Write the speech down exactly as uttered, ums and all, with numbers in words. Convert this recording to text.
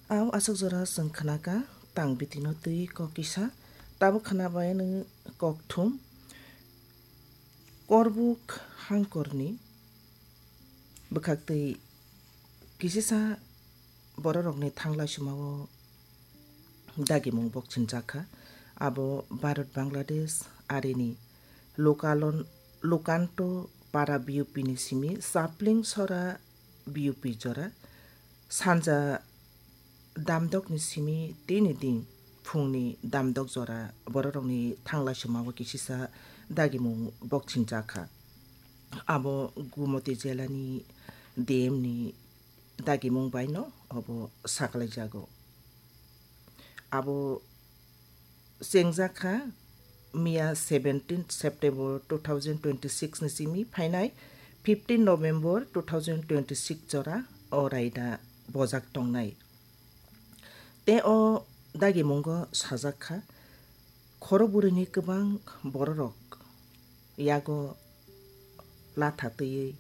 Au aswk jora chwng khnaka tang bitino twi kok kisa, tabuk khnabai nwng kokthum. Korbuk hangkorni bwkhaktwi kisisa bororokni thanglaisumao dagimung bokchinjakha. Abo Bharat Bangladesh arini Lokalon-, Lokanto Para B U P ni simi Sapling Sora B U P jora sanja damdokni simi tini din phungni damdok jora bororokni thanglaisumao kisisa dagimung bokchinjakha. Abo Gumoti jelani D M ni dagimung baino obo saklaijago. Abo chengjakha miya seventeen September two thousand twenty-six ni simi phainai fifteen November two thousand twenty-six jora o raida bojak tongnai. Te o dagimungo sajakha, khoro burini kwbang bororok yago latha twiwi